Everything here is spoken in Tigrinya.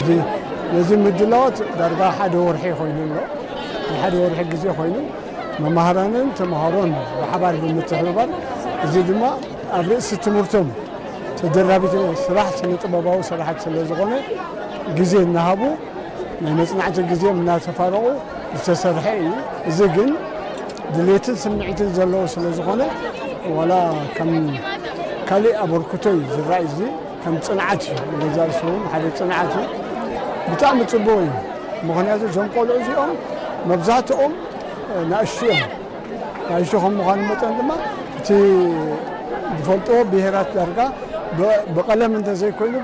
እዚ ነዚ ምድላዋት ዳርጋ ሓደ ወርሒ ኮይኑ ኣሎ። ንሓደ ወርሒ ግዜ ኮይኑ መማህራንን ተምሃሮን ብሓባር ብምትሕብባር፣ እዚ ድማ ኣብ ርእሲ ትምህርቶም ተደራቢ ስራሕ ስነ ጥበባዊ ስራሓት ስለ ዝኾነ፣ ግዜ እናሃቡ ናይ መጽናዕቲ ግዜ እናተፋረቑ ዝተሰርሐ እዩ። እዚ ግን ድሌትን ስምዒትን ዘለዎ ስለ ዝኾነ፣ ዋላ ከም ካልእ ኣበርክቶ እዩ ዝረኣይ። እዚ ከም ጽንዓት እዩ፣ ንገዛእ ርእሱ እውን ሓደ ጽንዓት እዩ። ብጣዕሚ ጽቡቕ እዩ። ምኽንያቱ እዞም ቆልዑ እዚኦም መብዛሕትኦም ናእሽቱ እዮም። ናእሽቱ ከም ምዃኑ መጠን ድማ እቲ ዝፈልጥዎ ብሄራት ዳርጋ ብ-፣ ብቐለም እንተዘይኮይኑ